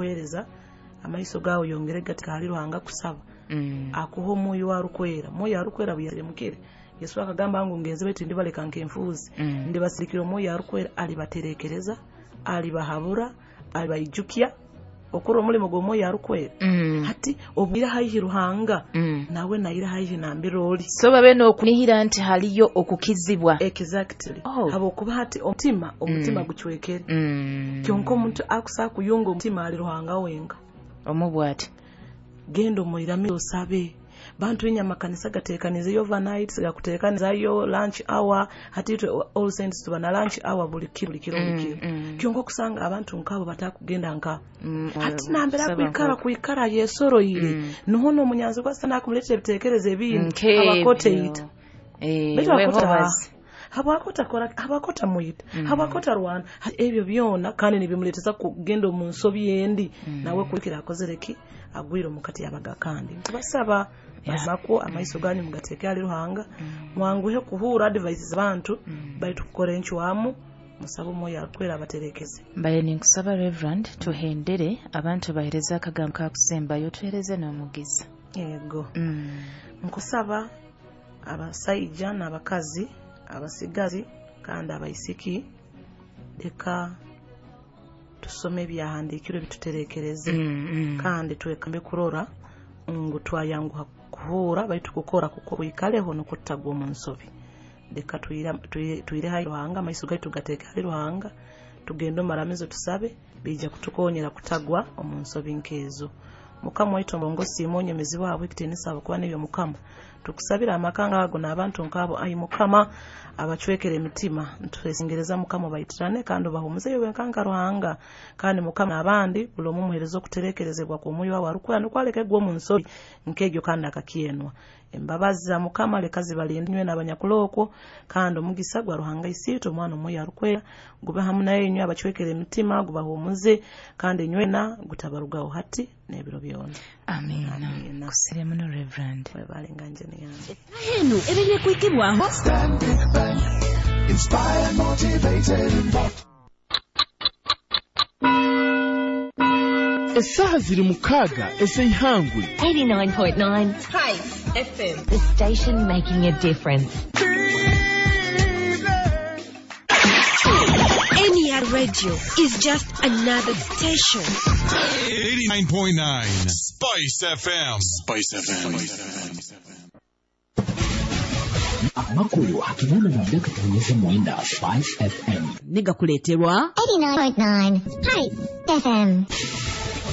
Kuhereza amaiso gawe yongere gatika hali Ruhanga kusaba. Akuha Omwoyo arukwera. Mwoyo arukwera buyaremukire. Yesu akagamba ngu ngenze baitu ndibaleka nk'enfuuzi. Ndibasirikira Omwoyo arukwera, alibaterekereza, alibahabura, alibaijukya okora omulimo gw'Omwoyo arukwera. Hati obwira haihi Ruhanga, nawe naira haihi nambira oli. So babe n'okunihira nti haliyo okukizibwa. Exactly. Habwokuba hati omutima gucwekere. Kyonka omuntu akusa kuyunga omutima ali Ruhanga wenka. Omubwati. Genda omwirame osabe. Bantu inya makanisa gatekanizeyo overnight, gakutekanizayo lunch hour, hati itwe All Saints tuba na lunch hour buli kiro, buli kiro, buli kiro. Kyonka okusanga abantu nkabo batakugenda nka. Hati nambera kwikara yesoroire. Nuho n'omunyanzi gwa sana akumuletera ebitekerezo ebindi abakoteita. Habwakota kora, habwakota muyita, habwakota rwana, ebyo byona kandi nibimuleteza kugenda omu nsobi endi. Nawe kulikira akozereki agwire omukati yabaga kandi. Nkubasaba mazako amaiso ganyu mugateke ali Ruhanga, mwanguhe kuhura advice z'abantu, baitu kukora encwamu, musaba Omwoyo arukwera abaterekeze. Mbaye ninkusaba Reverend tuhendere abantu bahereza akagambo kakusembayo, tuhereze n'omugiza. Yego. Nkusaba abasaija n'abakazi, abasigazi kandi abaisiki, leka tusome ebyahandiikirwe bituterekereze. Kandi twekambe kurora ngu twayanguha kuhura baitu kukora kuko wikaleho nokutagwa omu nsobi. Leka twire hali Ruhanga, amaiso gaitu gateeke hali Ruhanga, tugende omaramizo tusabe, bija kutukonyera kutagwa omu nsobi nkezo. Mukama waitu omurongosi onyemezi waabwe ekitiinisa ahabw'okuba n'ebyo Mukama. Tukusabira amaka ngaago n'abantu nk'abo, ai Mukama, abacwekere emitima. Ntwesengereza Mukama baitirane kandi obahumuze iwe nkanka Ruhanga. Kandi Mukama n'abandi buli omu omuhereza okuterekerezebwa kw'Omwoyo wawe arukwera nukwo aleke kugwa omu nsobi nk'egyo kandi akakyenwa. Embabazi za Mukama leka zibalinde inywe n'abanyakulokwo, kandi omugisa gwa Ruhanga Isiitwe, Omwana Omwoyo arukwera gube hamu nainywe abacwekere emitima, gubahumuze, kandi inywena gutabarugaho hati n'ebiro byona. Amina. Kusire muno Reverend. Webale nganje niyange. Henu ebiri kwikibwaho. Stanbic Bank, inspired, motivated, involved. Esaha ziri 6 ez'eihangwe. 89.9 Spice FM, the station making a difference. NER Radio is just another station. 89.9 Spice FM. Spice FM. Amakuru hakinana na Dr. Mwenda, Spice FM. Nigakuleterwa 89.9 Spice FM.